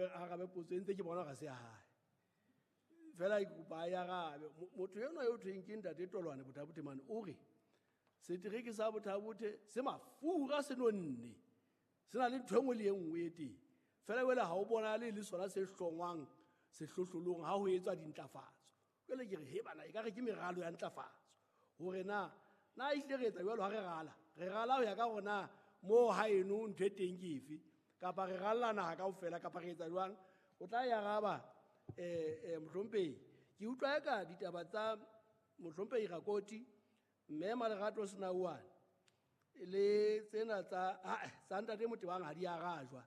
arabe potso e ntse ke bona ga se ya hae. Fela ke kopa a e arabe. Motho enwa yo thweng ke ntate Tolwane Botha-Bothe mane o re setereke sa Botha-Bothe se mafura se nonne, se na le ntho e nngwe le e nngwe e teng. Fela jwale ha o bonale le sona se hlongwang sehlohlolong ha ho etswa dintlafatso. Jwale ke re, he bana, ekare ke meralo ya ntlafatso. Hore na ehlile re etsa jwalo ha re rala? Re rala ho ya ka hore na moo haeno ntho e teng ke efe, kapa re ralla naha kaofela, kapa re etsa jwang? O tla e araba, mohlomphehi. Ke utlwa eka ditaba tsa mohlomphehi Rakoti, mme Malerato Senauane, le tsena tsa ntate Motebang ha di arajwa,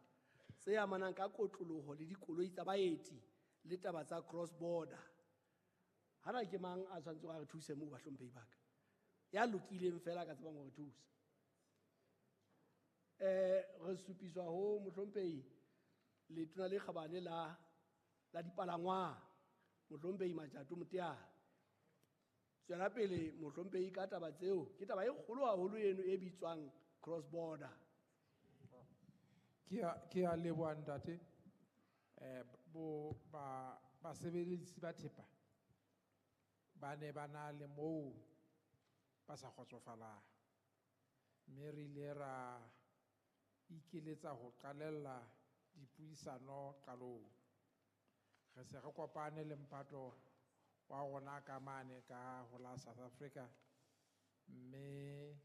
tse amanang ka kotloloho le dikoloi tsa baeti le taba tsa cross border. Hana ke mang a tshwanetseng a re thuse moo, bahlomphehi ba ka? Ya lokileng fela ka tsebang ho re thusa. Re supiswa ho mohlomphehi letona le kgabane la dipalangwang, mohlomphehi Matjato Moteane. Tswela pele mohlomphehi ka taba tseo, ke taba e kgolo haholo eno e bitswang cross border. Ke a leboha ntate. Basebeletsi ba thepa ba ne ba na le moo ba sa kgotsofalang, mme re ile ra ikeletsa ho qalella dipuisano qalong. Re se re kopane le mphato wa rona ka mane ka ho la South Africa, mme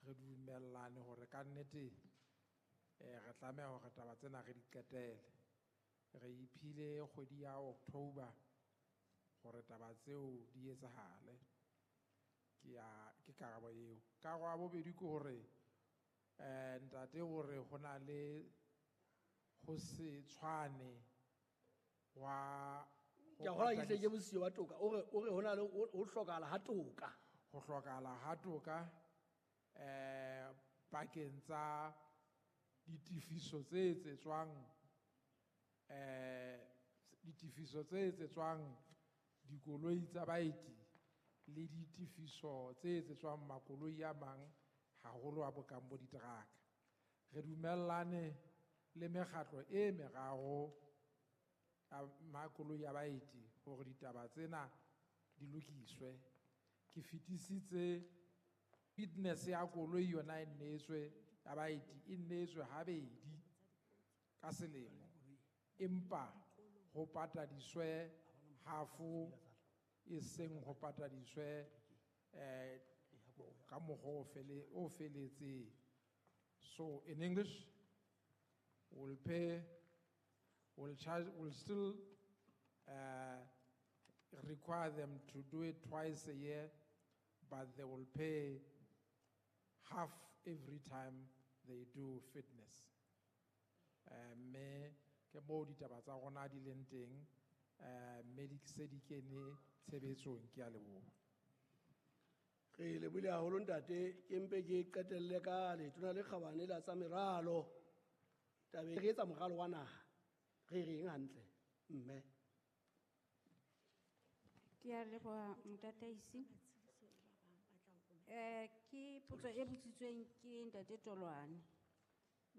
re dumellane hore ka nnete, re tlameha hore taba tsena re di qetele. Re iphile kgwedi ya October hore taba tseo di etsahale. Ke karabo eo. Karabo ya bobedi ke hore, ntate hore ho na le ho se tshwane wa ho Ke a kgolwa ke hle ke patadisa. bosiyo ba toka. O re ho na le ho hlokahala ha toka. Ho hlokahala ha toka, pakeng tsa ditefiso tse etsetswang, ditefiso tse etsetswang dikoloi tsa baeti le ditefiso tse etsetswang makoloi a mang, haholo a bokang bo diteraka. Re dumellane le mekgatlo e meraro ya makoloi a baeti hore ditaba tsena di lokiswe. Ke fetisitse fitness ya koloi yona e nneetswe ya baeti, e nneetswe habedi ka selemo, empa ho patadiswe half, e seng ho patadiswe, ka mokgwa o feletseng. So in English, we'll pay, we'll charge, we'll still require them to do it twice a year, but they will pay half every time they do fitness. Mme ke moo ditaba tsa rona di leng teng, mme di se di kene tshebetsong. Ke a leboha. Re lebohile haholo ntate. Ke mpe ke qetelle ka letona le kgabane la tsa meralo. Tabeng re etsa moralo wa naha, re reng hantle mme? Ke a leboha motataisi. Ke potso e botsitsweng ke ntate Tolwane,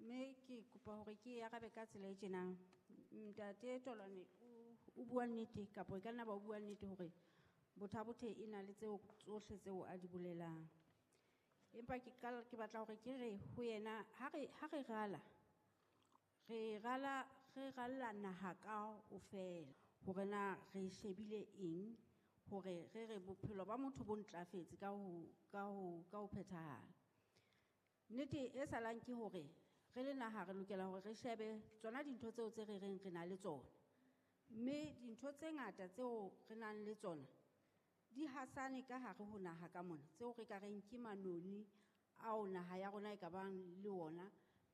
mme ke kopa hore ke e arabe ka tsela e tjenang. Ntate Tolwane o bua nnete, kapa e ka nna ba o bua nnete hore Botha-Bothe e na le tseo tsohle tseo a di bolelang. Empa ke batla hore ke re ho yena, ha re rala, re rala, re ralla naha kaofela, hore na re shebile eng, hore re re bophelo ba motho bo ntlafetse ka ho phethahala. Nnete e salang ke hore re le naha re lokela hore re shebe tsona dintho tseo tse re reng re na le tsona. Mme dintho tse ngata tseo re nang le tsona di hasane ka hare ho naha ka mona, tseo re ka reng ke manoni ao naha ya rona e ka bang le ona.